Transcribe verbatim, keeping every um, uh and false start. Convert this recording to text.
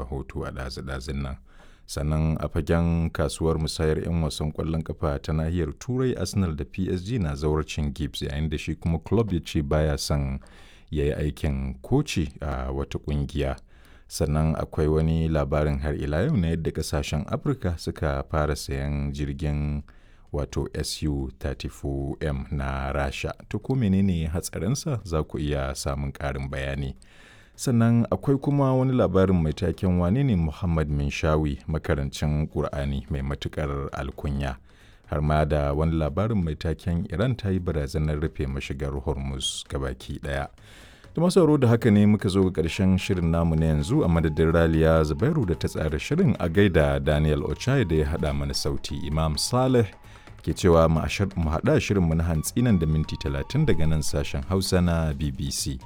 rahoto a ɗazu-ɗazun nan. Sannan a fagen kasuwar musayar 'yan wasan ƙwallon kafa ta nahiyar Turai, Arsenal da P S G na zawarcin Gibbs, yayin da shi kuma club ya ce baya son ya yi aikin koci a wata ƙungiya. Sannan akwai wani labarin har ila yau na yadda kasashen Afirka suka fara sayan jirgin wato S U talatin da huɗu M na Rasha. To, ko menene hatsarinsa? Za ku iya samun ƙarin bayani. Sannan akwai kuma wani labarin mai taken "Wane ne Muhammad Minshawi, makarancin Ƙur'ani mai matuƙar alkunya?" Har ma da wani labarin mai taken "Iran ta yi barazanar rufe mashigar Hormuz gabaki ɗaya." Da masu da haka ne muka zo ga ƙarshen shirin namu na yanzu. A madadin Raliya Zubairu da ta tsara shirin, a gaida Daniel Ochai da ya haɗa mana sauti. Imam Saleh ke cewa mu haɗa shirinmu na hantsi nan da minti talatin daga nan sashen Hausa na B B C.